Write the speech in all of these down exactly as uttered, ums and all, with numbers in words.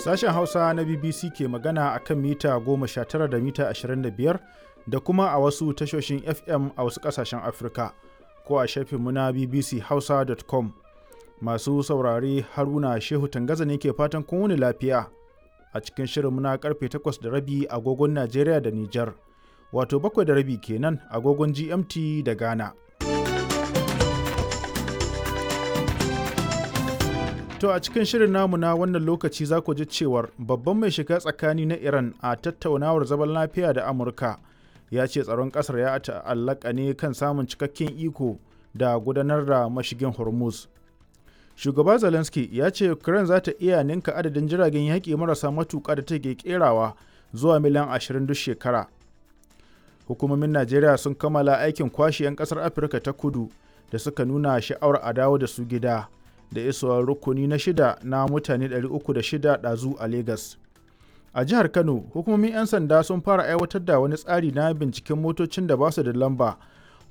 Sashen Hausa na B B C ke magana a kan mita goma sha tara da mita ashirin da biyar da kuma a wasu tashoshin F M a wasu ƙasashen Afirka ko a shafinmu na B B C hausa dot com. Masu saurare, Haruna Shehu Tangaza ne ke fatan kun wuni lafiya a cikin shirinmu na karfe takwas da rabi agogon Najeriya da Nijar, wato bakwai da rabi kenan agogon G M T da Ghana. To, a cikin shirin namu na wannan lokaci za ku ji cewar babban mai shiga tsakani na Iran a tattaunawar zaman lafiya da Amurka ya ce tsaron ƙasar ya ta'allaka ne kan samun cikakken iko da gudanar da mashigin Hormuz. Shugaba Zelensky ya ce Ukraine za ta iya ninka adadin jiragen yaƙi marasa matuƙa da take kerawa zuwa miliyan ashirin duk shekara. Hukumomin Najeriya sun kammala aikin kwashe 'yan ƙasar Afirka ta Kudu da suka nuna sha'awar a dawo da su gida, da isowar rukuni na shida na mutane ɗari uku da shida ɗazu a Legas. A jihar Kano, hukumomin 'yan sanda sun fara aiwatar da wani tsari na binciken motocin da ba su da lamba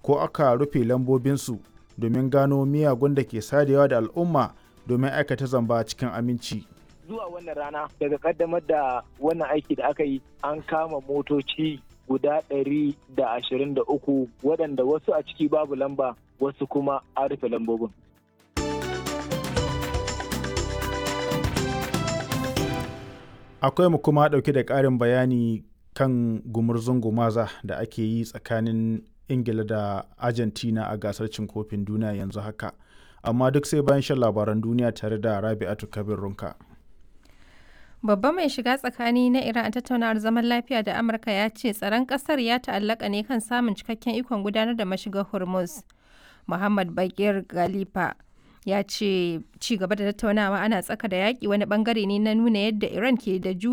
ko aka rufe lambobinsu domin gano miyagun da ke sadewa da al'umma domin aikata zamba cikin aminci. Zuwa wannan rana daga kaddamar da wannan aiki da aka yi, an kama motoci guda ɗari da ashirin da uku waɗanda wasu a ciki babu lamba, wasu kuma an rufe lambobin. Akwai mu kuma ɗauke da ƙarin bayani kan gumurzun gumaza da ake yi tsakanin Ingila da Argentina a gasar cin kofin duniya yanzu haka. Amma duk sai bayan shan labaran duniya tare da Rabi'atu Kabir Runka. Babba mai shiga tsakani na Iran a tattaunawar zaman lafiya da Amurka ya ce tsaron kasar ya ta'allaka ne kan samun cikakken ikon gudanar da mashigar Hormuz. Muhammad Bagir Galifa ya ce ci gaba da tattaunawa ana tsaka da yaƙi wani bangare ne na nuna yadda Iran ke da juriya.